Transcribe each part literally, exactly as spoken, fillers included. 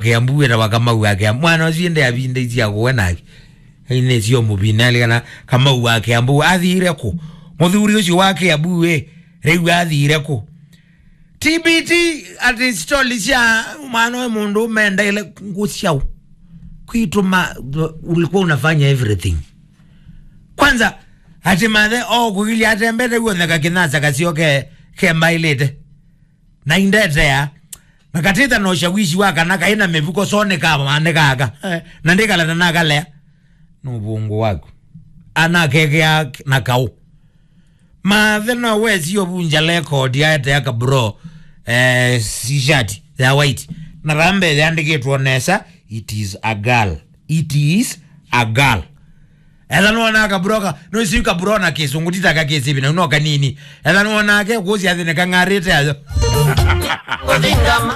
Kĩambu wĩtawa Kamau wa Kĩambu. Mwana ũcio ĩndĩ avindĩisye akũwe nake. Ĩnĩ sio mũvina, alikana Kamau wa Kĩambu. Athiire kũ? Mũthuri ũcio wa Kĩambu ĩ, rĩu athiire kũ? T B T, ati stori sya mwana ũyũ mũndũ ũmendeile ngũ syaũ? Kwitũ ma, ulikuwa unafanya everything. Kwanza, ati mathe, o kũgilia atembete guothe kakĩnasa kasio ke, kembaĩlĩte. Na indetea, na katĩta na ũshawishi wa kana kaĩ na mĩvuko, so nĩkamaanĩkaka. Eh, na ndĩkala na nakalea. Nĩ ũvũngũ waku. Anakekea na kaũ. Mathe no wesi ũvunja record aetea kabro, eh, t-shirt ya white. Na vambe yandĩkĩtwo nesa, "It is a girl." It is a girl. Etha nĩwonaa kabro ka, no isi kabro na kĩsũngũ, ti ta ka kĩsĩvi, na no kanini. Etha nĩwonaa ke kũsi athĩ nĩ kang'arĩte ayo.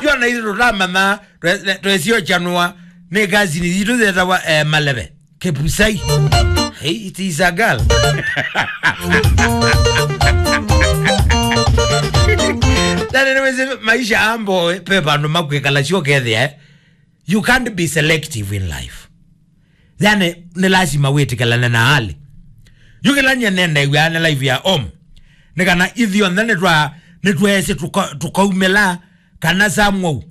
Yo na ithu tũtamanya, twe-, twe-, twesio chanua, nĩ kazini, itũ thetawa, eh, maleve. Kepusai. Hey, it is a girl. Nani nĩwĩsĩ maisha ambo, eh, pe vandũ makwĩkala sio kethĩa, eh? You can't be selective in life. Yani, nĩ lazima wĩtĩkĩlane na hali. Yu kĩla nyie nendew'a nĩ life ya home. Nĩ kana ithyonthe nĩtwa-, nĩtweesĩ tũka-, tũkaumĩla kana samwau.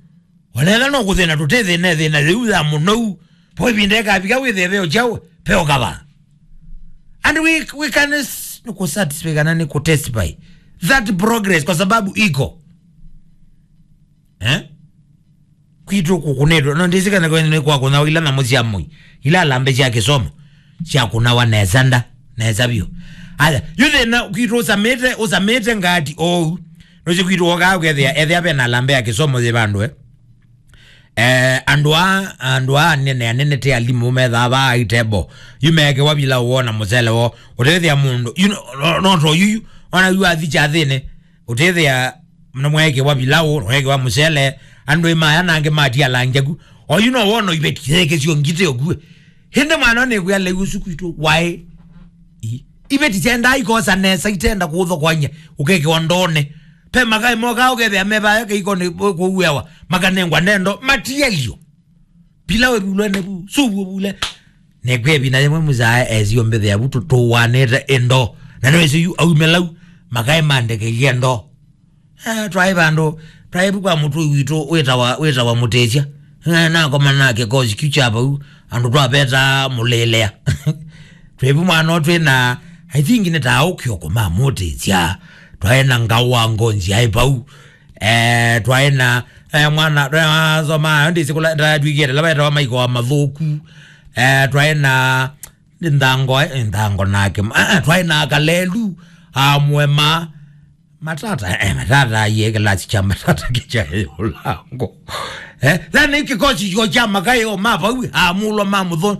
Onetha no kũthĩna tũtĩthĩna thĩna yĩu ya mũnou. Po ĩvinda ĩkavika wĩthĩe veo kyaũ, veo kava. And we, we can s-, nĩ kũ satisfy kana nĩ kũ testify that progress kwa sababu iko. Eh? Kwitũ kũkũnĩtwe. No ndĩsĩ kana kwene nĩ kwakũnawa ila nyamũ sya mũi. Ila alambe sya kĩsomo. Syakũnawa nesa nda. Nesa vyũ. Aya, yu thĩna kwitũ ũsamĩte, ũsamĩte ngati oou. Nũsĩ kwitũ wokaa ũkethĩa, ethĩa vena alambe ya kĩsomo yĩ vandũ, eh. Eh, andũ a, andũ a anene, anene te alimũ methaa vaa itebo. Yu meekewa vila wona mũsele wo. Ũtethĩa mũndũ. You know, no, no to yuyu. Ona yu athi kyathĩnĩ. Ũtethĩa, na mweekewa vilaũ, mweekewa mũsele, andũ ĩ maya nangĩ matialangya ku. Oyu no wono iveti yekesyo ngite okue. Hĩndĩ mwana nĩkwĩa leu ũsu kwitũ, waĩ. I-, iveti syendaa ikosa nesa, itenda kũthokwany'a, ũkekewa ndone. Pe makaĩ mokaa ũkethĩa mevaya keikoni kũuewa, makanengwa nendo, matielyo. Pilau ĩvulwe nĩ vu, suvu ĩvule. Nĩkwĩa ĩvinda yĩmwe mũsyae esio mbĩthĩa vu tũtũwanĩte ĩndo. Na nĩwĩsĩ yu aumĩlau, makaĩ mandekeilye ndo. Ah, twaĩ vandũ, twaĩ vu kwa mũtũi witũ wĩtawa, wĩtawa Mũtĩsya. Eh, nakoma na kĩkosi kyu kya vau, andũ twavetaa mũlĩlea. Twĩ vu mwana twĩ na, I think nĩ ta ũkĩoko ma Mũtĩsya. Twaĩ na Ngaũ wa Ngonzi aĩ vau. Eh, twaĩ na, eh, mwana, twaĩ na soma, ndĩsĩ kũla, ndatwĩkĩte, la wetawa maiko wa mathũku. Eh, twaĩ na, nĩ nthango, eh, nthango nake. Ah, ah, twaĩ na kalelu, amwema, matata, eh, matata, ye kĩlasi kya matata kĩkya ũlango. Eh, thani kĩkosi kyo kya makayo, ma vau, amulwa ma mũtho.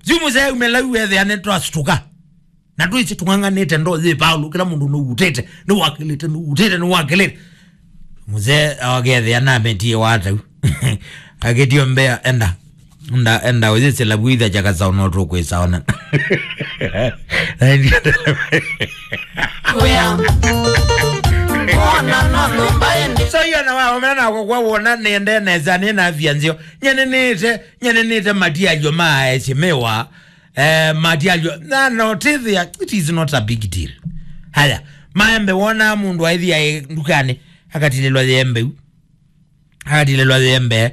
Jumu sɛ umelau wethĩa nĩ twasituka. Na twĩsĩ tũng'ang'anĩte ndo yĩ Paulo, kĩla mũndũ nũutĩte, nĩwakĩlĩte, nũutĩte, nĩwakĩlĩte. Mũzee akethĩa nametie watau. Akĩtio mbea, enda. Enda, enda, ũyĩsĩla vuitha chakasaona ũtũkwĩsaona. So, iyo na waomena nako kwa wona nĩende nesa, nĩna afya nzeo. Nyenenĩte, nyenenĩte matialyo ma aesĩmĩwa. Eh, matialyo. Na, no, tĩthĩa, it is not a big deal. Haya, maembe wona mũndũ aĩthi aĩ ndukanĩ, akatilĩlwa yembe u. Akatilĩlwa yembe,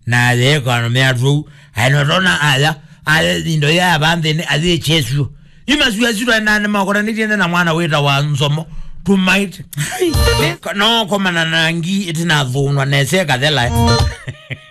na yekano meatwou. Aĩ no tona aya, aya indo ya vanthĩnĩ, athĩ chesu. Yu masu asu twaendaa nĩmakoranĩtie na mwana wĩtawa Nzomo. Tũmaĩte. No komana na ngi ĩtinathũnwa nesa ĩkathela, eh.